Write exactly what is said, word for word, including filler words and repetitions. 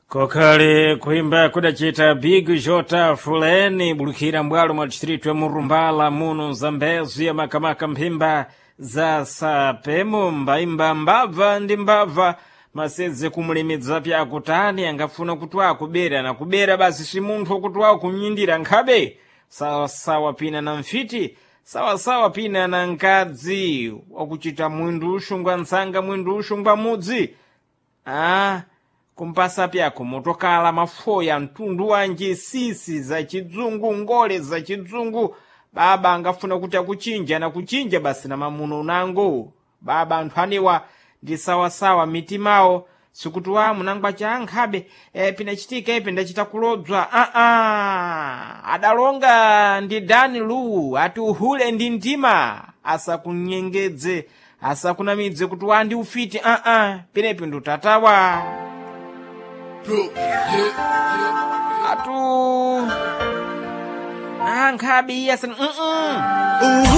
Kokhale kuimba kudacita Big Jota Fuleni bulukira mbwalo mwa distrito ya Murumbala muno Zambezi ya makamaka mphimba za sapemo mbaimba mbabva ndi mbabva masedze kumulemedza pyakutani angafuna kuti akubera na kubera basi si munthu wokuti wakunyindira nkhabe sawasawa pina na mfiti sawasawa pina na nkadzi wakuchita mwindu uxungwa ntsanga mwindu uxungwa mudzi ah kumpasa pyako motokala mafoya mtundu wanji sisi za chidzungu ngole za chidzungu baba angafuna kuti akuchinja na kuchinja basi na mamuno unango baba anthu anewa ndi sawasawa mitimawo sikuti wa munangwa cha ankhabe e, pinachitika ipi ndachita kulodzwa aa adalonga ndi dani luwu ati uhule ndi mtima asakunyengedze asakunamidze kuti wa ndi ufiti aa pinepi ndutatawa atu ankhabe iye asani mm -mm.